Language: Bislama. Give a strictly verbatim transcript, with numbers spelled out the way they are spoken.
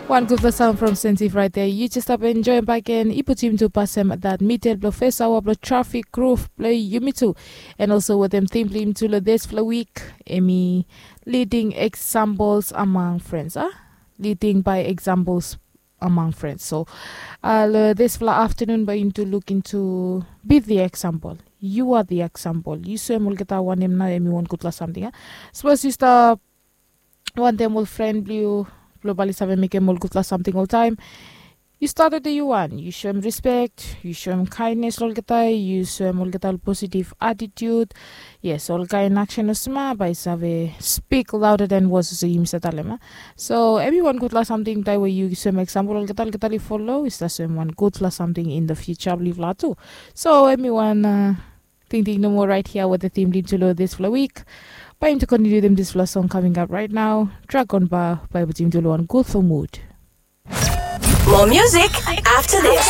Wan gutpela sang from Sensi Friday. Yu jes stap enjoim bak gen. I putim tu pasem dat midel bilong fes awa bilong trafik gruf bilong yumi tu. And also wetem tim bilong yumi tu long dispela wik, em i leading examples among friends, a? Leading by examples among friends. So uh, long dispela afternoon bai yumi tu luk into be the example. You are the example. Yu soem olgeta wanem na em i wan gutpela samting, a? Sapos yu stap wantaim ol fren bilong yu bilong bali save mekim ol gutpela samting oltaim. Yu stat olgeta yu wan, yu soem respect, yu soem kindness olgeta, yu soem olgeta ol positive attitude. Yes, ol kain aksen olsem bai save speak louder than words, olsem yumi sa talem, a? So em i wan gutpela samting tai we yu soem example olgeta, olgeta li follow, i sa soem wan gutpela samting in the future bilong yupela tu. So em i wan uh, tingting nomo right here with the theme lead to lo dispela week. Bai yumi tu continue them dispela song coming up right now. Dragon Bar bai putim tu lo wan gutful mood. More music after this.